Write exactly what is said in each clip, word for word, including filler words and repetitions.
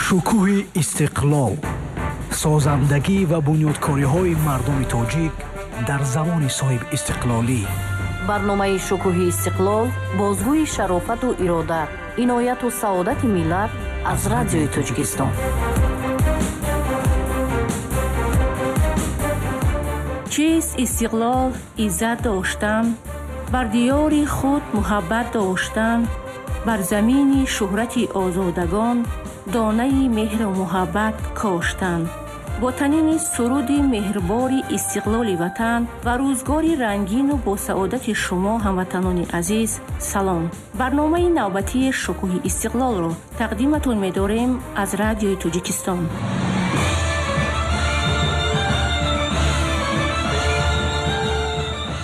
Шукӯҳи истиқлол, созандагӣ ва бунёдкориҳои мардуми тоҷик дар замони соҳибистиқлолӣ. Барномаи Шукӯҳи истиқлол бозгӯи шарофату иродат, инояту саодати миллат аз Радиои Тоҷикистон. Чист истиқлол? Иззат доштан, бар диёри худ муҳаббат доштан, бар замини шӯҳрати озодагон донаи меҳру муҳаббат коштан. Бо танини суруди меҳрбори истиқлоли ватан ва рӯзгори рангину босаодати шумо, ҳамватанони азиз, салом. Барномаи навбатии Шукӯҳи истиқлолро тақдиматон медорем аз Радиои Тоҷикистон.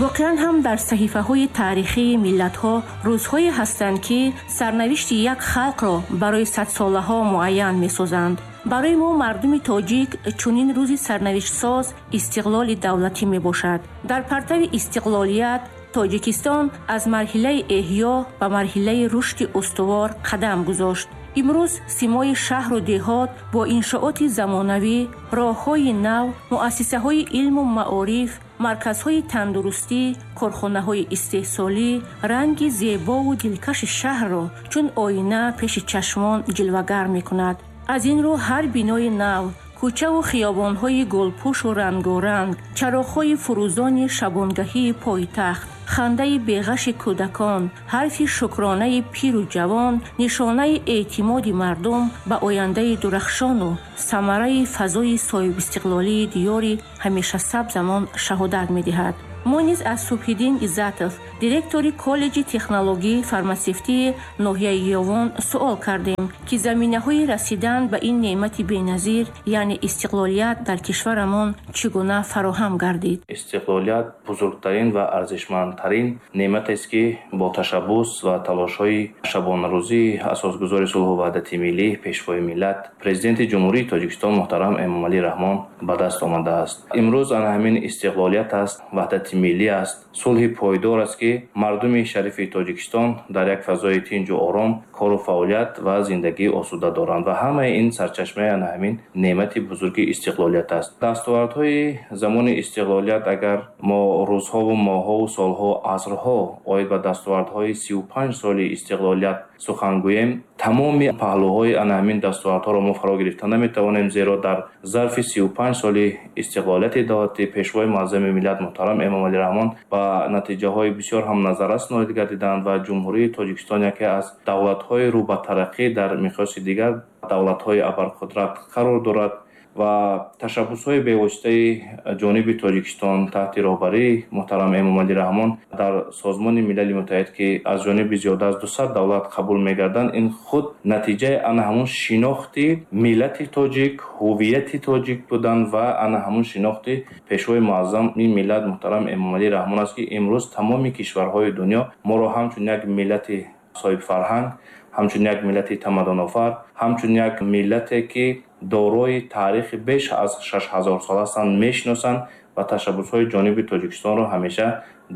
Воқеан ҳам дар саҳифаҳои таърихии миллатҳо рӯзҳое ҳастанд, ки сарнавишти як халқро барои садсолаҳо муайян месозанд. Барои мо, мардуми тоҷик, чунин рӯзи сарнавиштсоз истиқлоли давлатӣ мебошад. Дар партави истиқлолият Тоҷикистон аз марҳилаи эҳё ба марҳилаи рушди устувор қадам гузошт. Имрӯз симои шаҳру деҳот бо иншооти замонавӣ, роҳҳои нав, муассисаҳои илму маориф, марказҳои тандурустӣ, корхонаҳои истеҳсолӣ ранги зебову дилкаши шаҳрро чун оина пеши чашмон ҷилвагар мекунад. Аз ин рӯ ҳар бинои нав, кӯчаву хиёбонҳои гулпӯшу рангоранг, чароғҳои фурӯзони шабонгаҳии пойтахт, хандаи беғаши кӯдакон, ҳарфи шукронаи пиру ҷавон нишонаи эътимоди мардум ба ояндаи дурахшону самараи фазои соҳибистиқлолии диёри ҳамешасабзамон шаҳодат медиҳад. Мо низ аз Субҳиддин Иззатов, директори коллеҷи технологии фармасевтии ноҳияи Ёвон, суол кардем, ки заминаҳои расидан ба ин неъмати беназир, яъне истиқлолият дар кишварамон чӣ гуна фароҳам гардид. Истиқлолият бузургтарин ва арзишмандтарин неъматест, ки бо ташаббус ва талошҳои шабонарӯзии асосгузори сулҳу ваҳдати миллӣ, пешвои миллат, президенти Ҷумҳурии Тоҷикистон муҳтарам Эмомалӣ Раҳмон ба даст омадааст. Имрӯз ана ҳамин истиқлолият аст, ваҳдати миллӣ аст, сулҳи пойдор аст, ки мардуми шарифи Тоҷикистон дар як фазои тинҷу ором кору фаъолият ва зиндагии осуда доранд ва ҳамаи ин сарчашмаи ана ҳамин неъмати бузурги истиқлолият аст. Дастовардҳои замони истиқлолият, агар мо рӯзҳову моҳҳову солҳо, асрҳо оид ба дастовардҳои сию панҷ соли истиқлолият сухан гӯем, тамоми паҳлӯҳои ана ҳамин дастовардҳоро мо фаро гирифта наметавонем, зеро дар зарфи сию панҷ соли истиқлолияти давлати пешвои муаззами миллат муҳтарам Эмомалӣ Раҳмон ба натиҷаҳои бисёр ҳам назаррас ноил гардиданд ва Ҷумҳурии Тоҷикистон яке аз давлатҳои рӯ ба тараққӣ дар миқёси дигар давлатҳои абарқудрат қарор дорад ва ташаббусҳои бевоситаи ҷониби Тоҷикистон таҳти роҳбарии муҳтарам Эмомалӣ Раҳмон дар Созмони Милали Муттаҳид, ки аз ҷониби зиёда аз дусад давлат қабул мегарданд, ин худ натиҷаи ана ҳамун шинохти миллати тоҷик, ҳувияти тоҷик будан ва ана ҳамун шинохти пешвои муаззами миллат муҳтарам Эмомалӣ Раҳмон аст, ки имрӯз тамоми кишварҳои дунё моро ҳамчун як миллати соҳибфарҳанг, ҳамчун як миллати тамаддунофар, ҳамчун як миллате, ки дорои таърихи беш аз шаш ҳазор сол ҳастанд, мешиносанд ва ташаббусҳои ҷониби Тоҷикистонро ҳамеша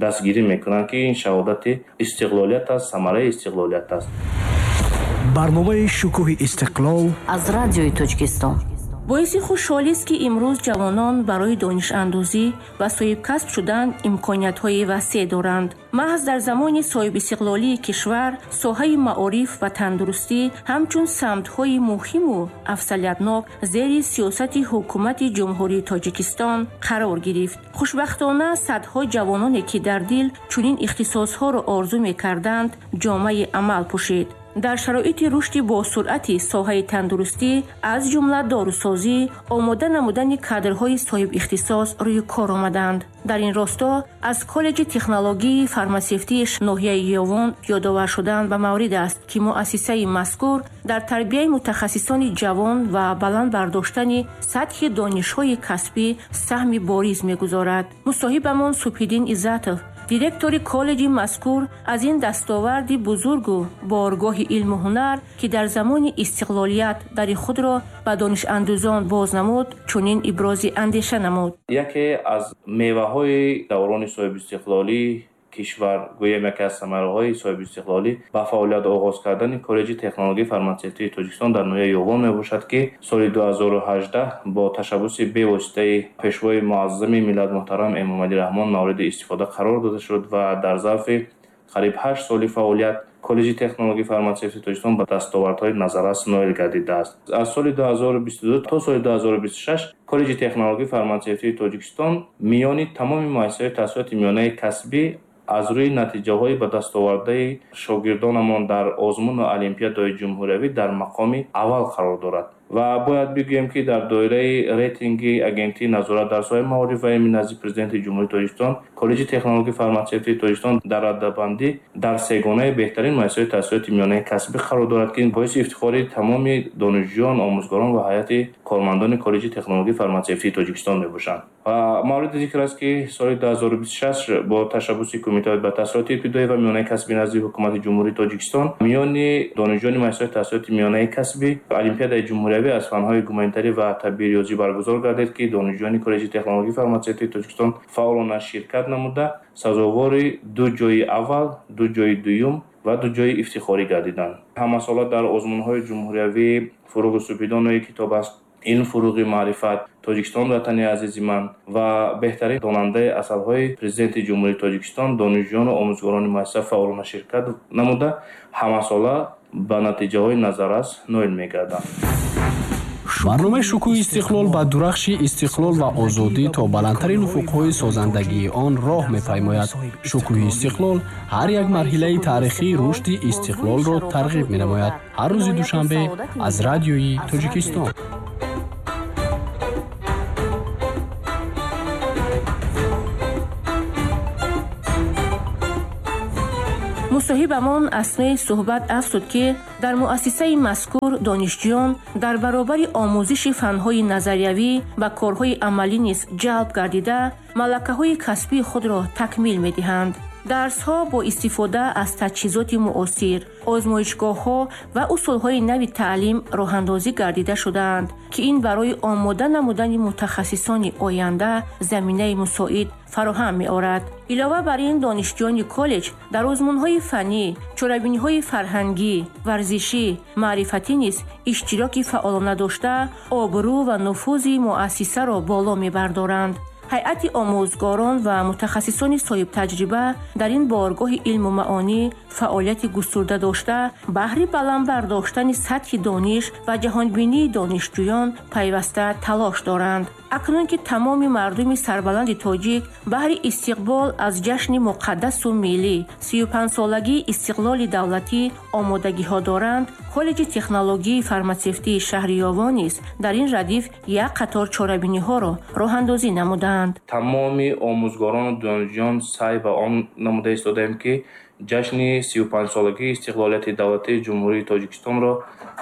дастгирӣ мекунанд, ки ин шаҳодати истиқлолият аст, самараи истиқлолият аст. Барномаи Шукӯҳи истиқлол аз Радиои Тоҷикистон. Боиси хушҳолист, ки имрӯз ҷавонон барои донишандозӣ ва соҳибкасб шудан имкониятҳои васеъ доранд. Маҳз дар замони соҳибистиқлолии кишвар соҳаи маориф ва тандурустӣ ҳамчун самтҳои муҳиму афзалиятнок зери сиёсати ҳукумати Ҷумҳурии Тоҷикистон қарор гирифт. Хушбахтона, садҳо ҷавононе, ки дар дил чунин ихтисосҳоро орзу мекарданд, ҷомаи амал пӯшид. Дар шароити рушди босуръати соҳаи тандурустӣ, аз ҷумла дорусозӣ, омода намудани кадрҳои соҳибихтисос рӯи кор омаданд. Дар ин росто аз коллеҷи технологии фармасевтии ноҳияи Ёвон ёдовар шудан ба маврид аст, ки муассисаи мазкур дар тарбияи мутахассисони ҷавон ва баланд бардоштани сатҳи донишҳои касбӣ саҳми бориз мегузорад. Мусоҳибамон Субҳиддин Иззатов, директори коллеҷи мазкур, аз ин дастоварди бузургу боргоҳи илму ҳунар, ки дар замони истиқлолият дари худро ба донишандӯзон боз намуд, чунин ибрози андеша намуд. Яке аз меваҳои даврони соҳибистиқлолӣ кишвар, гӯем яке аз самараҳои соҳибистиқлолӣ ба фаъолият оғоз кардани Коллеҷи технологияи фарматсевтии Тоҷикистон дар ноҳияи Ёвон мебошад, ки соли ду ҳазору ҳаждаҳ бо ташаббуси бевоситаи Пешвои муаззами миллат муҳтарам Эмомалӣ Раҳмон мавриди истифода қарор дода шуд ва дар зарфи қариб ҳашт соли фаъолият Коллеҷи технологияи фарматсевтии Тоҷикистон ба дастовардҳои назаррас ноил гардидааст. Аз соли ду ҳазору бисту ду то соли ду ҳазору бисту шаш Коллеҷи технологияи фарматсевтии Тоҷикистон миёни тамоми муассисаҳои таҳсилоти миёнаи касбӣ аз рӯи натиҷаҳои ба дастовардаи шогирдонамон дар озмуну олимпиадаҳои ҷумҳуриявӣ дар мақоми аввал қарор дорад. Ва бояд бигӯем, ки дар доираи рейтинги Агентии назорат дар соҳаи маориф ва илми назди Президенти Ҷумҳурии Тоҷикистон Коллеҷи технологияи фарматсевтии Тоҷикистон дар радабандӣ дар сегонаи беҳтарин муассисаҳои таҳсилоти миёнаи касбӣ қарор дорад, ки боиси ифтихори тамоми донишҷӯён, омӯзгорон ва ҳайати кормандони Коллеҷи технологияи фарматсевтии Тоҷикистон мебошанд. Ва мавриди зикр аст, ки соли ду ҳазору бисту шаш бо ташаббуси Кумитаи ба таҳсилоти ибтидоӣ ва миёнаи касбӣ назди Ҳукумати Ҷумҳурии Тоҷикистон миёни донишҷӯёни муассисаҳои таҳсилоти миёнаи касбӣ олимпиадаи ҷумҳуриявӣ аз фанҳои гуманитарӣ ва табиӣ риёзӣ баргузор гардид, ки донишҷӯёни Коллеҷи технологияи фарматсевтии Тоҷикистон фаъолона ширкат намуда, сазовори ду ҷойи аввал, ду ҷойи дуюм ва ду ҷойи ифтихорӣ гардиданд. Ҳамасола дар озмунҳои ҷумҳуриявӣ «Фуруғи субҳидонои китоб аст», «Илм фуруғи маърифат», «Тоҷикистон ватани азизи ман» ва беҳтарин донандаи асарҳои Президенти Ҷумҳурии Тоҷикистон донишҷӯёну омӯзгорони муассиса фаъолона ширкат намуда, ҳамасола ба натиҷаҳои назаррас ноил мегарданд. Барномаи Шукӯҳи Истиқлол ба дурахши истиқлол ва озодӣ то баландтарин уфуқҳои созандагии он роҳ мепаймояд. Шукӯҳи Истиқлол ҳар як марҳилаи таърихии рушди истиқлолро тарғиб менамояд. Ҳар рӯзи душанбе аз Радиои Тоҷикистон. Мусоҳибамон аснои суҳбат афзуд, ки дар муассисаи мазкур донишҷӯён дар баробари омӯзиши фанҳои назариявӣ ба корҳои амалӣ низ ҷалб гардида, малакаҳои касбии худро такмил медиҳанд. Дарсҳо бо истифода аз таҷҳизоти муосир, озмоишгоҳҳо ва усулҳои нави таълим роҳандозӣ гардида шудаанд, ки ин барои омода намудани мутахассисони оянда заминаи мусоид фароҳам меорад. Илова бар ин, донишҷӯёни коллеҷ дар озмунҳои фаннӣ, чорабиниҳои фарҳангӣ, варзишӣ, маърифатӣ низ иштироки фаъолона дошта, обрӯ ва нуфузи муассисаро боло мебардоранд. Ҳайати омӯзгорон ва мутахассисони соҳибтаҷриба дар ин боргоҳи илму маъонӣ фаъолияти густурда дошта, баҳри баланд бардоштани сатҳи дониш ва ҷаҳонбинии донишҷӯён пайваста талош доранд. Акнун ки тамоми мардуми сарбаланди тоҷик баҳри истиқбол аз ҷашни муқаддасу миллӣ сию панҷсолагии истиқлоли давлатӣ омодагиҳо доранд, Коллеҷи технологияи фарматсевтии шаҳри Ёвон низ дар ин радиф як қатор чорабиниҳоро роҳандозӣ намуданд. Тамоми омӯзгорону донишҷӯён саъй ба он намуда истодаем, ки ҷашни сию панҷсолагии истиқлолияти давлатии Ҷумҳурии Тоҷикистонро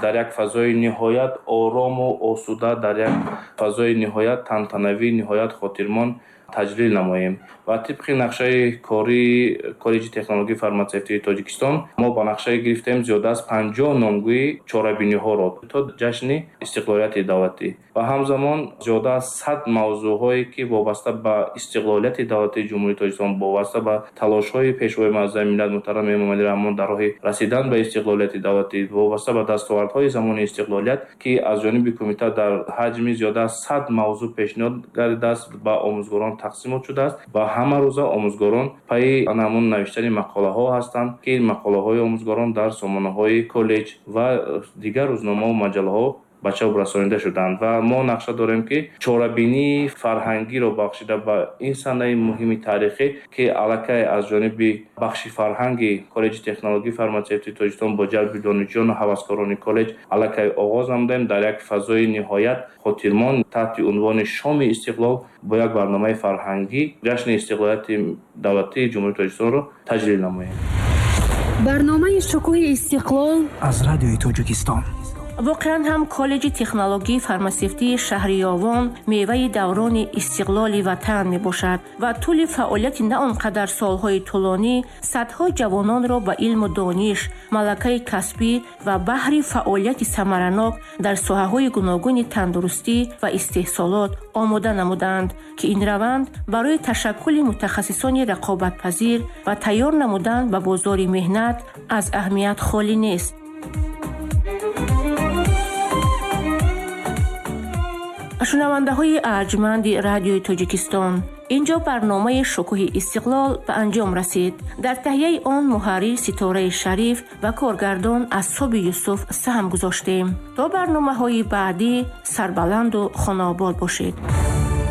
дар як фазои ниҳоят орому осуда, дар як фазои ниҳоят тантанавӣ, ниҳоят хотирмон таҷлил намоем. Ва тибқи нақшаи кории Коллеҷи технологияи фарматсевтии Тоҷикистон мо ба нақша гирифтем зиёда аз панҷоҳ номгӯи чорабиниҳоро то ҷашни истиқлолияти давлатӣ ва ҳамзамон зиёда аз сад мавзӯъҳое, ки вобаста ба истиқлолияти давлатии Ҷумҳурии Тоҷикистон, вобаста ба талошҳои Пешвои муаззами миллат муҳтарам Эмомалӣ Раҳмон дар роҳи расидан ба истиқлолияти давлатӣ, вобаста ба дастовардҳои замони истиқлолият, ки аз ҷониби кумита дар ҳаҷми зиёда аз сад мавзӯъ пешниҳод гардидааст, ба омӯзгорон тақсимот шудааст ва ҳама рӯза омӯзгорон пайи ҳамон навиштани мақолаҳо ҳастанд, ки мақолаҳои омӯзгорон дар сомонаҳои коллеҷ ва дигар рӯзномаҳо маҷаллаҳо ба чоп расонида шуданд. Ва мо нақша дорем, ки чорабинии фарҳангиро бахшида ба ин санаи муҳими таърихӣ, ки аллакай аз ҷониби бахши фарҳанги Коллеҷи технологияи фарматсевтии Тоҷикистон бо ҷалби донишҷӯёну ҳаваскорони коллеҷ аллакай оғоз намудаем, дар як фазои ниҳоят хотирмон таҳти унвони «Шоми истиқлол» бо як барномаи фарҳангӣ ҷашни истиқлолияти давлатии Ҷумҳурии Тоҷикистонро таҷлил намоем. Барномаи Шукӯҳи Истиқлол аз Радиои Тоҷикистон. Воқеан ҳам коллеҷи технологии фармасевтии шаҳри Ёвон меваи даврони истиқлоли ватан мебошад ва тӯли фаъолияти на он қадар солҳои тӯлонӣ садҳо ҷавононро ба илму дониш, малакаи касбӣ ва баҳри фаъолияти самаранок дар соҳаҳои гуногуни тандурустӣ ва истеҳсолот омода намуданд, ки ин раванд барои ташаккули мутахассисони рақобатпазир ва тайёр намудан ба бозори меҳнат аз аҳамият холӣ нест. Шунавандаҳои арҷманди радиои Тоҷикистон, инҷо барномаи Шукӯҳи истиқлол ба анҷом расид. Дар таҳияи он муҳаррир Ситораи Шариф ва коргардон Асҳоби Юсуф саҳм гузоштем. То барномаҳои баъдӣ сарбаланду хонаобод бошед.